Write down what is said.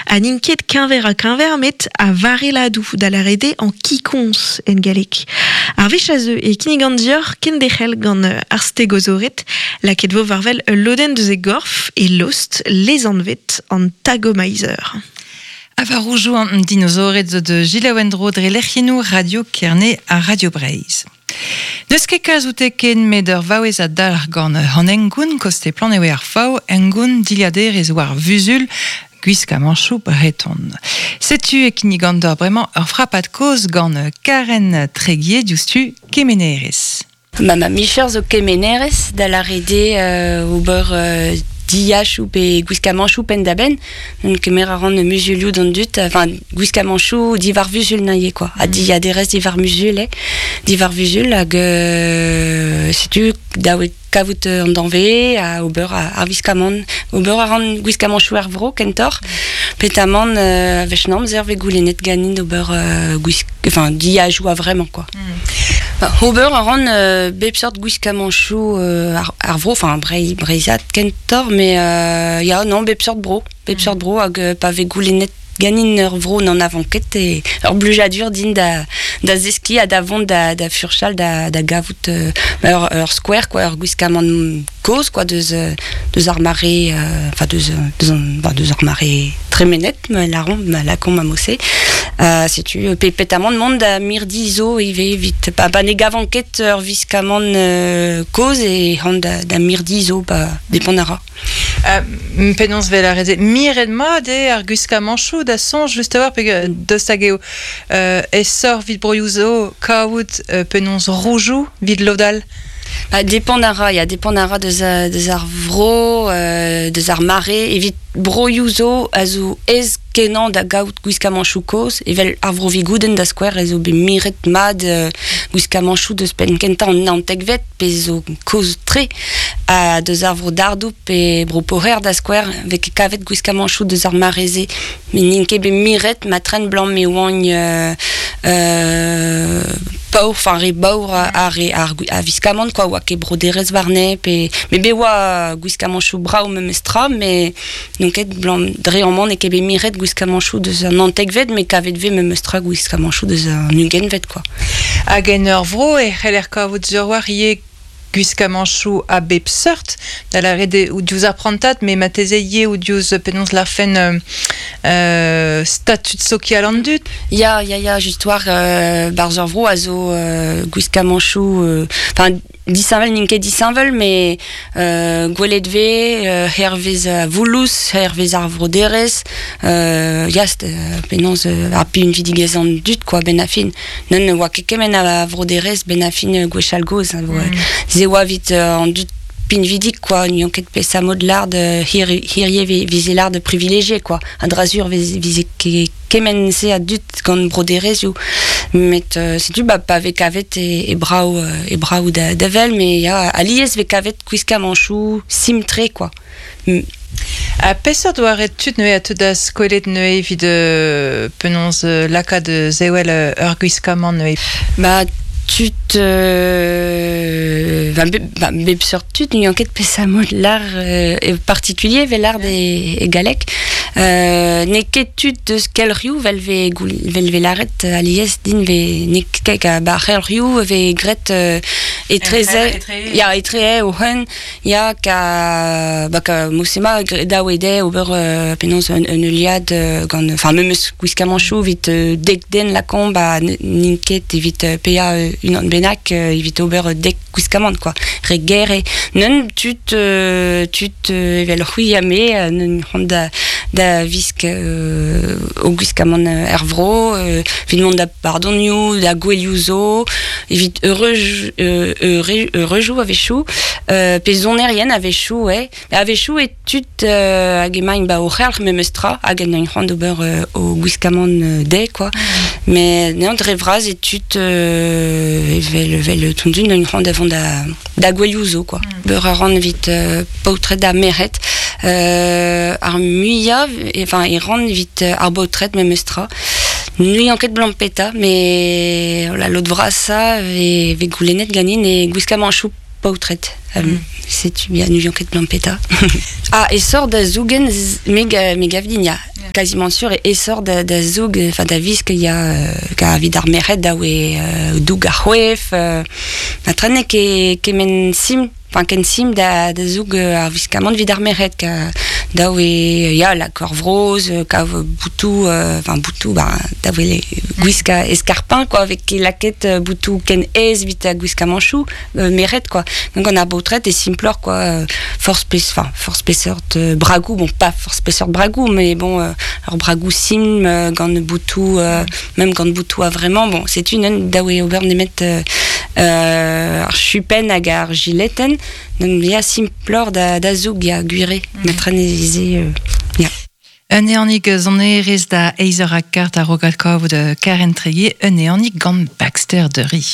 Ha n'int ket keñver-ha-keñver met a-varelladoù, da lâret eo an kikoñs en galleg. Ar wech a zeu e kinnigan deoc'h kenderc'hel gant ar stegozored. Lakaet vo war-wel ul lodenn deus e gorf, e lost, lesanvet an Tagomizer. Ha war roujoù an dinozored zo da selaou en-dro dre lec'hiennoù Radio Kerne ha Radio Breizh. N'eus ket kalz oute ken met ur vaouez a dalc'h gant an hengoun koste plan eo ar fav hengoun dilhaderezh war vuzul gwiskamanchoù breton. Setu e kinnigan deoc'h bremañ ur frapad kozh gant Karen Treguier diouzhtu kemenerez. Ma ma micher zo kemenerez da lâret eo ober dilhachoù pe gwiskamanchoù penn-da-benn. Kemer a ran muzulioù d'an dud, enfin gwiskamanchoù diwar vuzul neuze quoi. Ha dilhaderezh diwar muzul eo, diwar vuzul hag setu dav eo kavout an danvez ha ober ar wiskamant. Ober a ran gwiskamanchoù er vro kentoc'h, petamant a-wech 'n amzer 'vez goulennet ganin d'ober gwisk enfin dilhajoù a-vremañ quoi. Ober a ran bep seurt gwiskamanchoù ar vro, enfin breizhat kentoc'h, mais ya, non, bep seurt bro. Bep seurt bro hag pa vez goulennet ganin ur vro n'anavan ket e ur blijadur din da, da zeskiñ ha da vont da, da furchal da, da gavout ur, ur skouer, quoi, ur gwiskamant kozh quoi, deus, deus ar mare, enfin deus, deus, an, bah, deus ar mare tremenet, ma lâromp, ma lakaomp a-mod-se. Setu pe petamant mont da mirdi zo ivez evit pa, pa ne gavan ket ur wiskamant kozh e han da, da mirdi zo ba depend a ra. Penaos 'vel ar re-se miret mat eo ar gwiskamanchoù da soñj just a-walc'h peogwir daoust hag eo aesoc'h 'vit broioù zo kavout penaos roujoù 'vit lod all? Bah, depend a ra, ya, depend a ra deus, deus ar vro, deus ar mare. Evit broioù zo a zo aes kenañ da gaout gwiskamanchoù kozh, evel ar vro Vigoudenn da skouer ez eo bet miret mat gwiskamanchoù deus penn kentañ an naontekvet, pezh zo kozh-tre, ha deus ar vro Dardoù pe bro Poher da skouer, 'vez ket kavet gwiskamanchoù deus ar mare-se. Met n'int ket bet miret ma tren 'blam e oant paour, enfin re baour ar re ar a wiskamant quoi, oa ket broderezh warne pe met bet oa gwiskamanchoù brav memestra met n'on ket 'blam dre amañ n'eo ket bet miret gwiskamanchoù deus an naontekvet met kavet 'vez memestra gwiskamanchoù deus an ugentvet quoi. Hag en ur vro e c'heller kavout sur-walc'h ivez gwiskamanchoù a bep seurt, da lâret eo diouzh ar prantad, met marteze ivez diouzh penaos lârfen statud sokial an dud. Ya, ya, ya, just war barzh ur vro a zo gwiskamanchoù, enfin disheñvel n'int ket disheñvel, mais gwelet 'vez hervez voulouz, hervez ar vroderezh, ya, penaos ar pinvidigezh an dud quoi, 'benn ar fin. Ne oa ket kement a vroderezh 'benn ar fin gwechall-gozh. Se oa evit an dud pinvidik quoi, n'oant ket peseurt mod lard hirie 'vize lard privilégié quoi. A-dra-sur 'vize ket kement-se a dud gant broderezhioù. Met setu ba pa vez kavet e, e brav e brav da, da wel, mais ya, alies 'vez kavet gwiskamanchoù simpl-tre quoi. Ha peseurt doare tud neuze a teu da skwelet neuze evit penaos lakaat sevel ur gwiskamant neuze? Ba tud ba bep seurt tud n'ouian ket peseurt mod lâr e particulier 'vel lâr e galleg. N'eo ket tud deus kelc'hioù 'vel 'vez 'vel 'vez lâret alies din 'vez n'eo ket ba ar c'helc'hioù e vez graet etreze ya etre o-c'hen Ya, ka, ba, ka mosema dav eo dezhe ober penaos un, un heuliad gant, enfin memes gwiskamanchoù evit dek den lakaomp, ba n'int ket evit paeañ unan bennak evit ober dek gwiskamant quoi. Re ger eo. Neun tud, tud evel c'hwi ha me, neun c'hoant da, da visk o gwiskamant er vro, evit mont da pardonioù, da gouelioù zo, evit eureuj, eureujoù a-wechoù, pe sonerien a-wechoù, ouais. A-wechoù e tud hag emaint ba o c'helc'h memes tra, hag en doint c'hoant d'ober o gwiskamant dezhe, quoi. Mais non, dre vras e tud evel, evel tondun doint c'hoant da vont da, da gouelioù zo, quoi. Beur a ran evit paotred ha merc'hed. Ar muiañ, enfin, e ran evit ar baotred memes tra. N'ouian ket blampeta, met la lod vrasañ 'vez goulennet ganin e gwiskamanchoù. paotred. Setu ya n'ouion ket blam petra. Ah, e sort da zougen me gav din ya. Quasiment sûr e sort da zoug, enfin da visk ya ka vid ar merc'hed da oe doug ar c'hwef, na trane ke kemen sim, enfin ken sim da zoug ar viskamant vid ar merc'hed ka da oe ya la kor vroz, ka boutou, enfin boutou ba da oe le gwiska escarpin quoi avec laket boutou ken ez vit a gwiska manchou merc'hed quoi. Donc on a baotred et simplor quoi, force enfin force spesseur de bragou, bon pas force spesseur de bragou mais bon alors bragou sim gant boutou même gant boutou a vraiment bon c'est une da oe ober nemet ar chupen hag ar gileten donc ya simplor da zoug ya gwire matraneze ya. Un eanig zonerez da eizer a kart a rogat kavout Karen Treguier, un eanig gant Baxter de Ri.